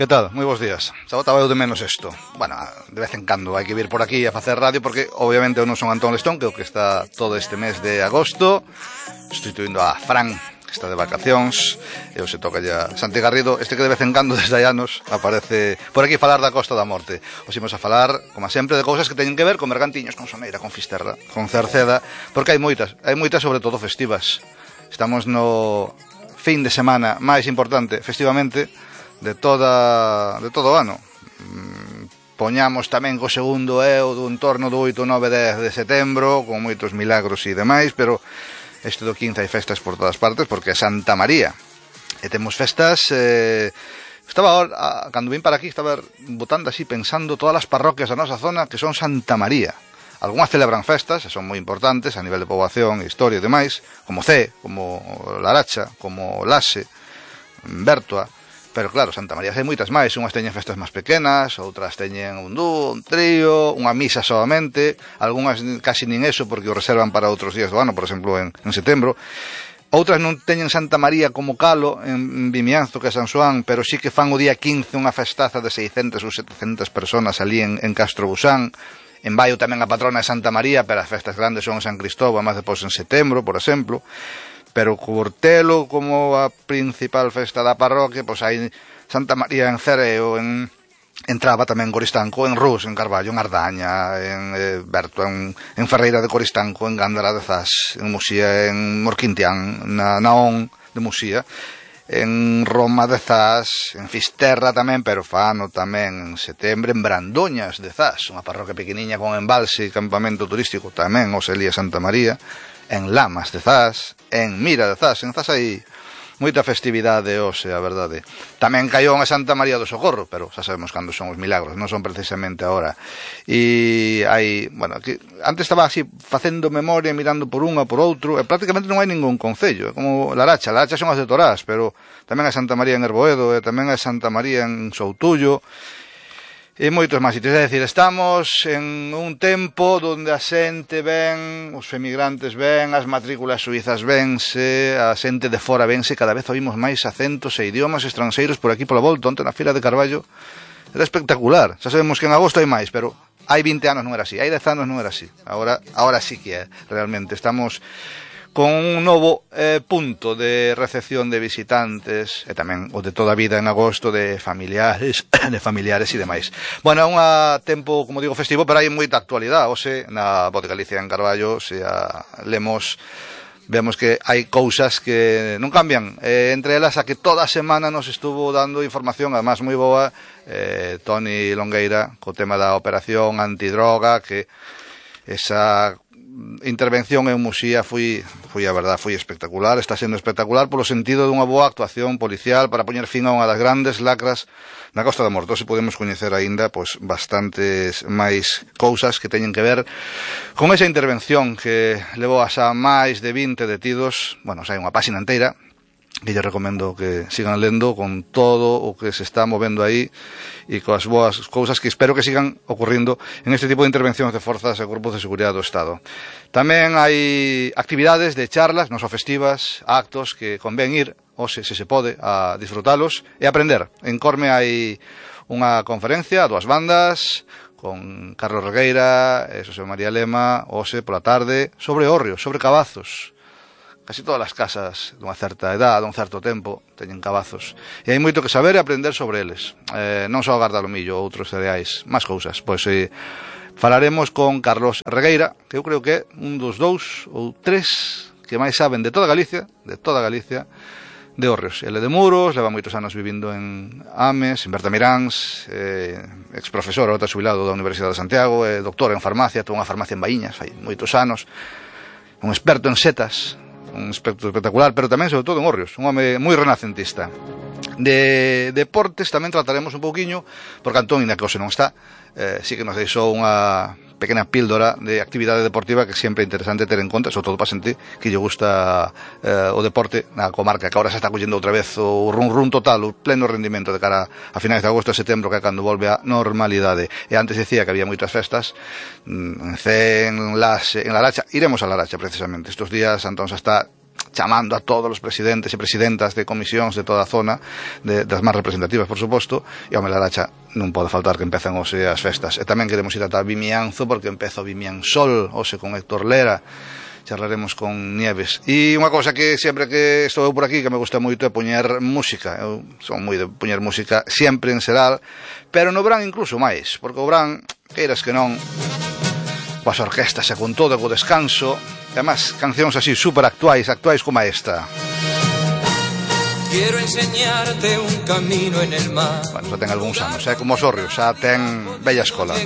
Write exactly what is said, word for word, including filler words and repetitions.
Que tal? Moi bons días. Xa botaba eu de menos isto. Bueno, de vez en cando hai que vir por aquí a facer radio porque obviamente eu non son Antón Lestón, que é o que está todo este mes de agosto, sustituindo a Fran, que está de vacacións. Eu se toca ya Santi Garrido, este que de vez en cando desde hai anos aparece por aquí falar da Costa da Morte. Os imos a falar, como sempre, de cousas que teñen que ver con Bergantiños, con Soneira, con Fisterra, con Cerceda, porque hai moitas, hai moitas sobre todo festivas. Estamos no fin de semana máis importante festivamente de toda de todo o ano. Poñamos tamén co segundo eu do entorno do oito, nove, dez de setembro, con moitos milagros e demais, pero este do quince hai festas por todas partes porque é Santa María. E temos festas, eh, estaba ahora, cando vim para aquí, estaba botando así pensando todas as parroquias da nosa zona que son Santa María. Algúnas celebran festas, e son moi importantes a nivel de poboación, historia e demais, como Cee, como Laracha, como Lase, Bertoa. Pero claro, Santa María hai moitas máis. Unhas teñen festas máis pequenas, outras teñen un dúo, un trío, unha misa solamente. Algúnas casi nin eso porque o reservan para outros días do ano, por exemplo en, en setembro. Outras non teñen Santa María como calo en Vimianzo, que é San Xoán, pero sí que fan o día quince unha festaza de seiscentas ou setecentas personas ali en, en Castro Busán. En Baio tamén a patrona é Santa María, pero as festas grandes son en San Cristóbal, máis depois en setembro, por exemplo. Pero Curtelo como a principal festa da parroquia, pois hai Santa María en Cereo, en, en Traba tamén en Coristanco, en Rus, en Carballo, en Ardaña, en eh, Berto, en, en Ferreira de Coristanco, en Gándara de Zas, en Musía, en Morquintián, na Naón de Musía, en Roma de Zas, en Fisterra tamén, pero Fano tamén en setembro, en Brandoñas de Zas, unha parroquia pequeniña con embalse e campamento turístico tamén, o Selía Santa María, en Lamas de Zas, en Mira de Zas. En Zas hai moita festividade hoxe, a verdade. Tamén caiu a Santa María do Socorro, pero xa sabemos cando son os milagros, non son precisamente agora. E hai, bueno, aquí, antes estaba así facendo memoria, mirando por unha, por outro, e prácticamente non hai ningún concello, é como Laracha. Laracha son as de Torás, pero tamén hai Santa María en Herboedo, e tamén hai Santa María en Soutullo, e moitos máis sitios. É dicir, estamos en un tempo onde a xente ven, os emigrantes ven, as matrículas suizas vense, a xente de fora vense, cada vez oímos máis acentos e idiomas estranxeiros por aquí pola volta. Onte na Fira de Carballo era espectacular. Xa sabemos que en agosto hai máis, pero hai vinte anos non era así, hai dez anos non era así. Agora, agora sí que é, realmente. Estamos con un novo eh, punto de recepción de visitantes e tamén o de toda a vida en agosto de familiares de familiares e demais. Bueno, é un tempo, como digo, festivo, pero hai moita actualidade. Hoxe, na Voz de Galicia en Carballo, se a lemos, vemos que hai cousas que non cambian. Eh, entre elas, a que toda a semana nos estuvo dando información, además moi boa, eh, Toni Longueira, co tema da operación antidroga, que esa intervención en Musía foi, foi a verdad, foi espectacular. Está sendo espectacular polo sentido dunha boa actuación policial para poñer fin a unha das grandes lacras na Costa da Morte. Se podemos coñecer aínda pois bastantes máis cousas que teñen que ver con esa intervención que levou a xa máis de vinte detidos. Bueno, xa hai unha páxina inteira que lle recomendo que sigan lendo con todo o que se está movendo aí e coas boas cousas que espero que sigan ocurrindo en este tipo de intervencións de forzas e grupos de seguridade do Estado. Tamén hai actividades de charlas, non só festivas, actos que convén ir, ou se, se se pode, a disfrutalos e aprender. En Corme hai unha conferencia a dúas bandas con Carlos Regueira e Xosé María Lema, hoxe pola tarde, sobre hórreos, sobre cabazos. Casi todas as casas dunha certa edad, dun certo tempo, teñen cabazos. E hai moito que saber e aprender sobre eles. Eh, non só gardalomillo, outros cereais, máis cousas. Pois eh, falaremos con Carlos Regueira, que eu creo que é un dos dous ou tres que máis saben de toda Galicia, de toda Galicia, de hórreos. Ele de Muros, leva moitos anos vivindo en Ames, en Bertamiráns, eh, ex-profesor, ahora xubilado da Universidade de Santiago, eh, doctor en farmacia, ten unha farmacia en Baíñas, fai moitos anos, un experto en setas, un aspecto espectacular, pero tamén, sobre todo, en hórreos, un home moi renacentista. De deportes tamén trataremos un pouquiño, porque Antón, ainda que hoxe non está, eh, sí que nos deixou unha pequena píldora de actividade deportiva que sempre é interesante ter en conta, sobre todo para xente que lle gusta eh, o deporte na comarca, que agora se está collendo outra vez o run run total, o pleno rendimento de cara a finais de agosto e setembro, que é cando volve a normalidade. E antes decía que había moitas festas en Cee, en Lase, en Laracha. Iremos a Laracha precisamente estes días. Antón xa está chamando a todos os presidentes e presidentas de comisións de toda a zona, de, das máis representativas, por suposto, e ao Melaracha non pode faltar que empezan hoxe as festas. E tamén queremos ir ata Vimianzo, porque empeza o Vimiansol, hoxe con Héctor Lera, charlaremos con Nieves. E unha cousa que sempre que estou por aquí que me gusta moito é poñer música. Eu son moi de poñer música sempre en xeral, pero no verán incluso máis, porque o verán, queiras que non, coas orquestas e con todo, co descanso, e además cancións así super actuais, actuais como esta. Quiero enseñarte un camino en el mar. Bueno, xa ten algúns anos, é como os Orrios, xa ten bella escola.